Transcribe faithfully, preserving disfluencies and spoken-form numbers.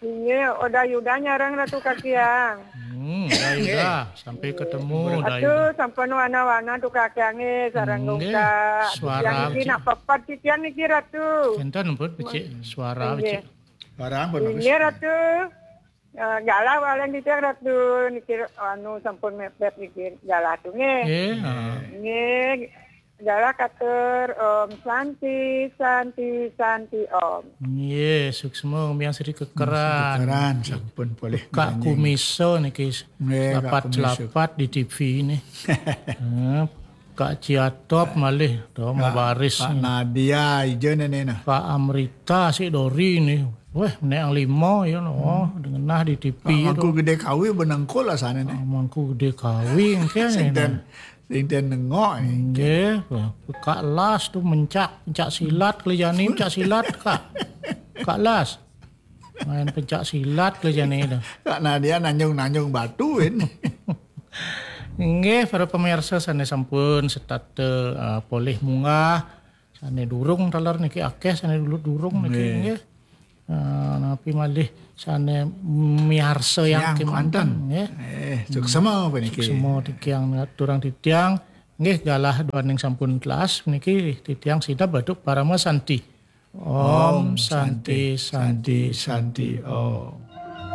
Inggih, Oda Yuda nyareng Ratu Kakiang. Hmm, Daida, sampai ketemu Ratu Daida. Sampun wana-wana tu Kakiang nggih, sareng Nggih, Dungkak. suara Yang niki becik. Nak pepat titiang niki Ratu. Enten pun becik suara Inggih. becik. Barang pun bagus. Inggih Ratu. Eh, galah walen titiang Ratu niki anu sampun mepet niki galah tu nggih. Eh, ah. Nggih. Galah katur Om Santi, Santi, Santi Om. Nggih, suksma miang sedikit keran. Keran sampun boleh. Kak Nyanyi. Kumiso niki Nggih, Kak lapat-lapat di T V ini. Eh, Kak Ciatop malih to mabaris. Pak Nadia ijo nene nah. Kak Amrita si Dori nih. Weh, nek yang lima ya no, dengenah di T V Pak itu. Mangku Gede Kawi benengkul lah sana nih. Mangku Gede Kawi engke Sing nih. den sing den nengok nih. Nggih, Kak Las tuh mencak, mencak silat keliani mencak silat Kak. Kak Las. Main pencak silat keliani itu. Kak Nadia nanjung-nanjung batuin. Nggih, para pemirsa sane sampun setata eh, polih munggah, sane durung taler niki akeh sane dulu durung niki nggih. Eh, napi malih sane miarsa yang Yang kemanten kemanten. nggih. Eh, suksma apa niki? Semua titiang turang titiang nggih galah duaning sampun telas niki titiang sida baduk parama santi. Om Santi Santi Santi Om.